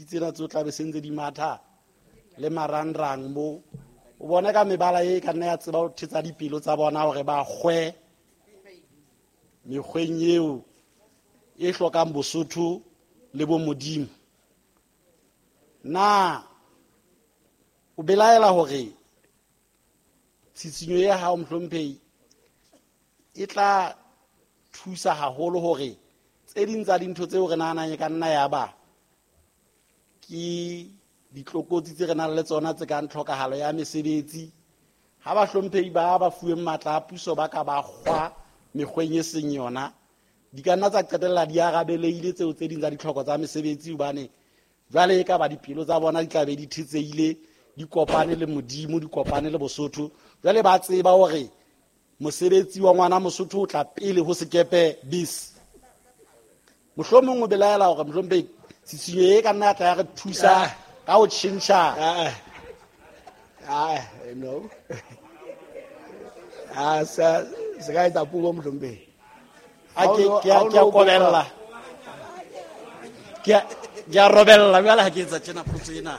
tsena tseo tla be se ntse di matha le marangrang mo o bona ka mebala e ka nna ya tseba ho thetsa dipelo tsa bona hore ba kgwe mekgweng eo e hlokang Bosotho le bo Modimo. Na o belaela hore tshitshinyo ya hao mohlomphehi e tla thusa haholo hore tse ding tsa dintho tseo re nahanang e ka nna ya ba ke ditlokotsi tse re nang le tsona tse kang tlhokahalo ya mesebetsi, ha bahlomphehi ba ba fuweng matla a puso ba ka ba kgwa mekgweng e seng yona, di ka nna tsa qetella di arabeleile tseo tse ding tsa ditlhoko tsa mesebetsi, hobane jwale e ka ba dipelo tsa bona di tla be di thetsehile, di kopane le Modimo, di kopane le Bosotho. Jwale ba tseba hore mosebetsi wa ngwana Mosotho o tla pele ho sekepe bis. Mohlomong o belaela hore mohlomphehi tshitshinyo e ka nna ya tla ya re thusa ka ho tjhentjha. No. Sa se ka etsa puo mohlomphehi. A ke a kobella. Ke a robella jwale ha ke etsa tjena potso ena.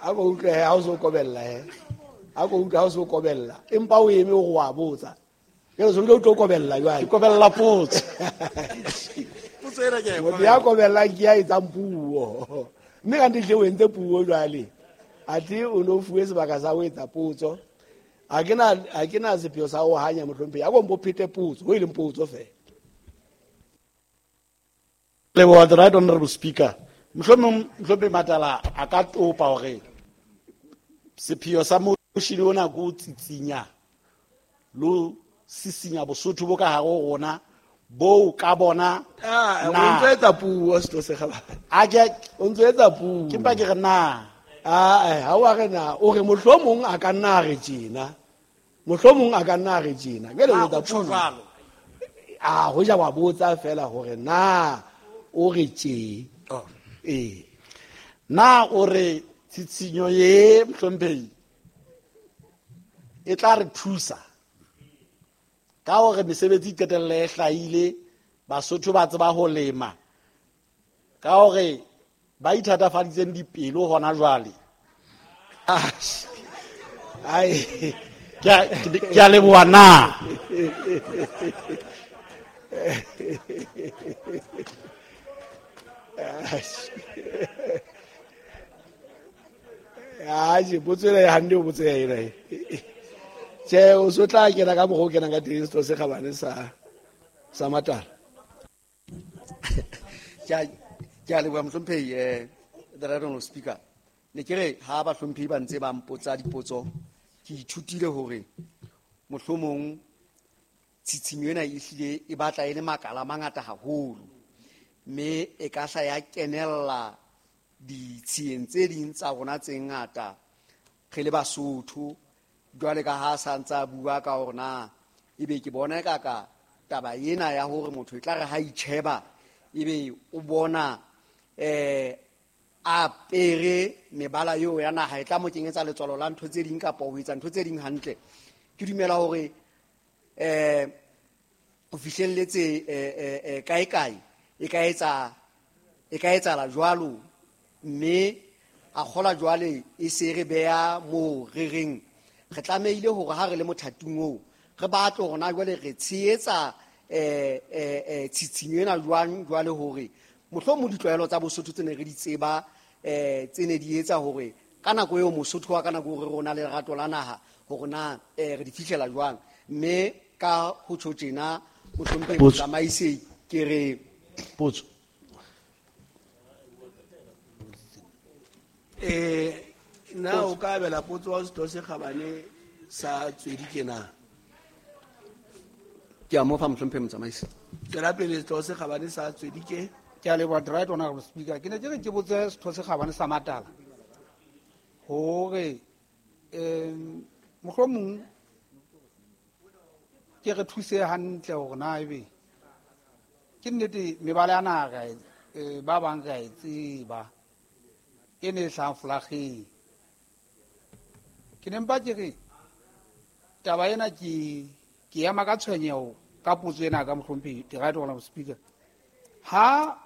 A ko utlwe ha o so kobella he. A ko utlwe ha o so kobella. Empa o eme o wa botsa. Ke re so o tlo kobella jwale. Ke kobella potso. Potso ena ke a e Motho ya kobellang ke ya etsang puo. Mme kante hle o entse puo jwale. Athe o no fuwe sebaka sa ho etsa potso. Ha ke na sepheo sa ho hanya mohlomphehi. A ko mpo phete potso, ho e leng potso feela. Leboha, the right honorable speaker. Mohlomong mohlomphehi Matala a ka topa hore sepheo sa motion ona ke ho tsitsinya le ho sisinya Bosotho bo ka hare ho rona bo ka bona o ntso etsa puo setho se kgabane. A ke o ntso etsa puo. Ke mpa ke re na. Ha wa re na, o re mohlomong a ka nna a re tjena. Mohlomong a ka nna a re tjena. Jwale o etsa O tjho puo. jwalo. A ho ja wa botsa fela hore na o re tje. Oh. Ee. Na o re tshitshinyo ye mohlomphehi e tla re thusa ka hore mesebetsi e qetelle e hlahile, Basotho ba tseba ho lema, ka hore ba ithatafaditseng dipelo hona jwale. Ai. Ke a leboha na. Aje, potso ena e hantle o botse ena e. Tjhe, o so tla kena ka mokgwa o kenang ka teng setho se kgabane sa Matala. Ke a leboha mohlomphehi, the right honorable speaker. Ne ke re ha bahlomphehi ba ntse ba mpotsa dipotso, ke ithutile hore mohlomong tshitshinyo ena e hlile e batla e le makala a mangata haholo, mme e ka hla ya kenella ditshiyeng tse ding tsa rona tse ngata re le Basotho. Jwale ka ha sa ntse a bua ka hore na ebe ke bona e ka ka taba ena ya hore motho e tla re ha itjheba ebe o bona, a apere mebala eo ya naha e tla mo kenyetsa letswalo la ntho tse ding kapa ho etsa ntho tse ding hantle. Ke dumela hore, ho fihlelletse, kae kae e ka etsa, e ka etsahala jwalo, mme a kgola jwale e se re beha moo re reng re tlamehile hore ha re le mothating oo re batle hore na jwale re tshehetsa, tshitshinyo ena jwang jwale hore mohlomong ditlwaelo tsa Bosotho tse ne re di tseba, tse ne di etsa hore ka nako eo Mosotho wa ka nako eo re rona le lerato la naha hore na, re di fihlela jwang. Mme ka ho tjho tjena, mohlomphehi Potso. motsamaisi, ke re Potso. Na o ka abela potso wa setho se kgabane sa Tswedi ke na? Ke a mo fa mohlomphehi motsamaisi. Tswela pele setho se kgabane sa Tswedi ke. Ke a leboha, the right honorable speaker. Ke ne ke re ke botse setho se kgabane sa Matala hore, mohlomong ke re thuse hantle hore na ebe ke nnete mebala ya naha ba bang re a e tseba e ne e hlahang folageng. Ke ne mpa ke re taba ena ke ema ka tshwenyeho ka potso ena ka mohlomphehi, the right honorable speaker. Ha